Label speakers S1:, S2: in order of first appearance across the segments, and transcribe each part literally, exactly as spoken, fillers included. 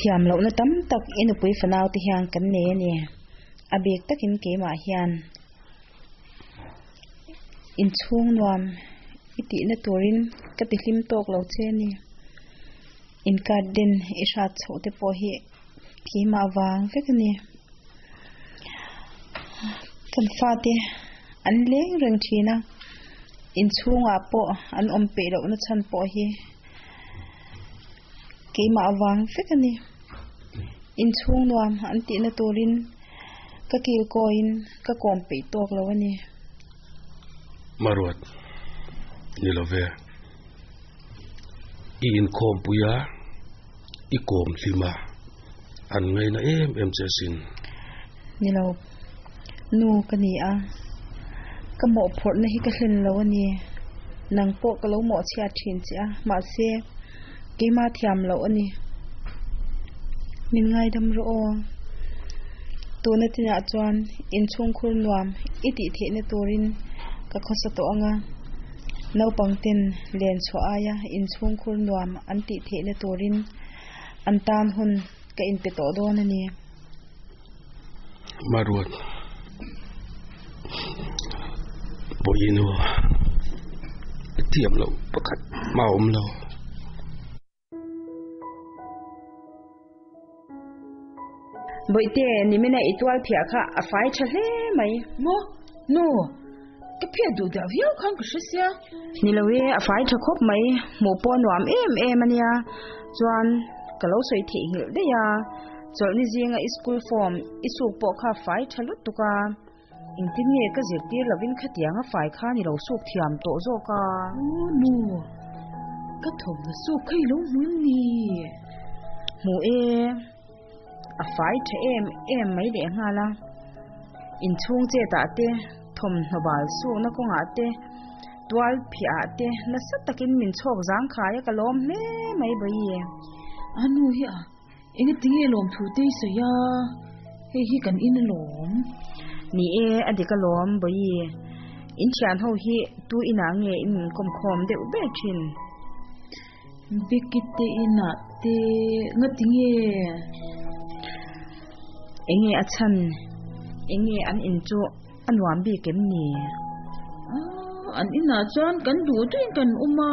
S1: Thiam lohna tam tak i nupui fanau te hian kan nei a ni. A bik takin keimah hian inchhung nuam i tihna turin ka ti hlim tawk lo che a ni. In garden i hrat chhoh te pawh hi keimah vang vek a ni. Kan fate an leng reng thin a, inchhungah pawh an awm peih lohna chhan pawh hi keimah vang vek a ni. Inchhung nuam an tihna turin ka kil kawiin ka kawm peih tawk lo a ni.
S2: Maruat, ni love. I inkhawm puia, i kawm hlima, an ngaina em em che sin.
S1: Ni lo, nu ka ni a, ka mawhphurhna hi ka hlen lo a ni. Nang pawh ka lo mawhchhiat thin che a, mahse keimah thiam loh a ni. Min ngaidam rawh aw. Tuna tinah chuan inchhung khur nuam i tih theihna turin ka khawsa tawh anga, naupang ten len chhuah aia inchhung khur nuam an tih theihna turin an tan hun ka inpe tawh dawn a ni.
S2: Maruat, Bawiinu, i thiam loh pakhat mah a awm lo.
S1: Bawihte, nimina i tual phiah kha a fai tha hle mai.
S3: Maw? Nu, ka phiah duh dah viau khan ka hre sia.
S1: Ni lo e, a fai tha khawp mai. Hmuh pawh nuam em em a nia. Chuan, ka lo sawi theihnghilh daih a. Chawlhni zinga i school form i suk pawh kha a fai tha lutuk a. Engtin nge ka zirtir lovin khatiang a fai khan i lo suk thiam tawh zawk a?
S3: Aw nu, ka thawmhnaw suk kha i lo hmu em ni?
S1: Hmu e, a fai tha em em mai leh nghal a. Inchhung chetah te, thawmhnaw bal sukna kawngah te, tual phiah ah te nasa takin min chhawk zang khai a, ka lawm hle mai bawi.
S3: A nu hi a, Engatinge lawmthu te i sawi a, hei hi kan in alawm.
S1: Ni e, a dik alawm Bawi. In thian ho hi tu inah nge in inkawm khawm deuh ber thin?
S3: Becky te inah te ngatinge?
S1: Enge a chhan? Enge an in chu a nuam bik em ni?
S3: Ah, an inah chuan kan duh duhin kan awm a,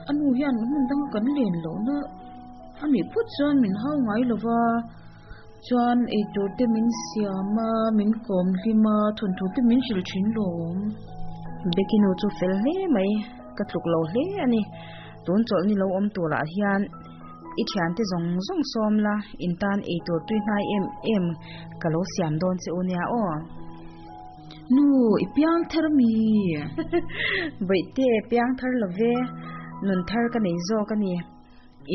S3: a nu hian hmun danga kan len lohna A nih phawt chuan min hau ngai lo va, chuan eitur te min siam a, min kawm hlim a, thawnthu te min hrilh thin lawm.
S1: Becky nu chu fel hle mai, ka tluk lo hle a ni. Tun chawlhni lo awm turah hian i thiante zawng zawng sawm la, in tan eitur tui hnai em em ka lo siam dawn che u nia aw.
S3: Nu, i piang thar mi?
S1: Bawihte, piang thar lo ve, nun thar ka nei zawk a ni.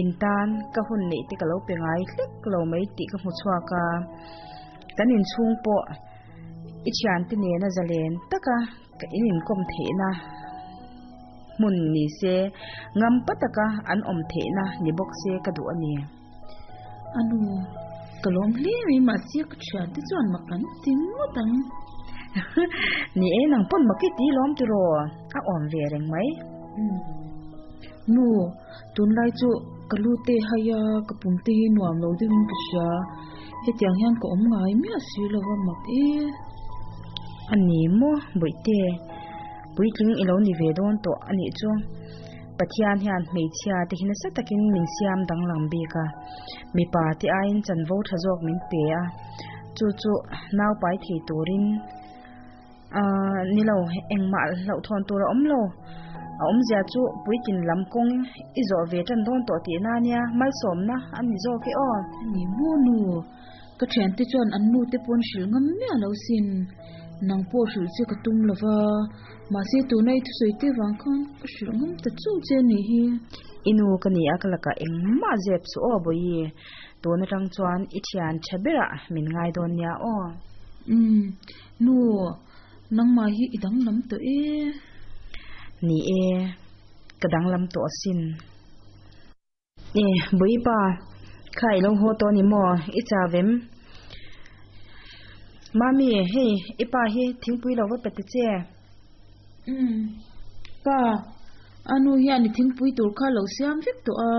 S1: In tan ka hun neih te ka lo pe ngai hlek lo mai tih ka hmu chhuak a, kan inchhung pawh i thiante nena zalen taka ka in inkawm theihna hmun ni se, ngam pa taka an awm theihna ni bawk se ka duh a ni.
S3: A nu, ka lawm hle mai mahse ka thiante chuan mak an ti ngawt ang.
S1: Ni e, nang pawn mak i ti lawm tiraw? A awm ve reng mai.
S3: Nu, tunlai chu ka lu te hai a, ka pum te hi nuam lo deuhin ka hria. Hetiang hian ka awm ngai miah si lo va mak e.
S1: A ni maw, Bawihte, puitling i lo ni ve dawn tawh a nih chu. Pathian hian hmeichhia te hi nasa takin min siam danglam bik a, mipa te aiin chanvo tha zawk min pe a, chu chu naupai thei turin Ahh, ni lo, engmah hlauhthawn tur a awm lo. A awmzia chu puitlin lam kawng i zawh ve tan dawn tawh tihna a nia, malsawmna a ni zawk e aw.
S3: A ni maw nu? Ka thiante chuan an nu te pawn hrilh ngam miah lo sin. Nang pawh hrilh che ka tum lo va, mahse tuna i thusawi te vang khan ka hrilh ngam ta chauh che a nih hi.
S1: I nu ka ni a, ka lakah engmah zep suh aw Bawihi. Tun atang chuan i thian tha berah min ngai dawn nia aw.
S3: Umm, nu, nangmah hi i danglam tawh e.
S1: Ni e, ka danglam tawh asin. E, Bawipa, kha i lo haw tawh a ni maw? I chau em? Mami, hei, i pa hi thingpui lo va pe ta che.
S3: Umm, pa, a nu hian i thingpui tur kha lo siam vek tawh a.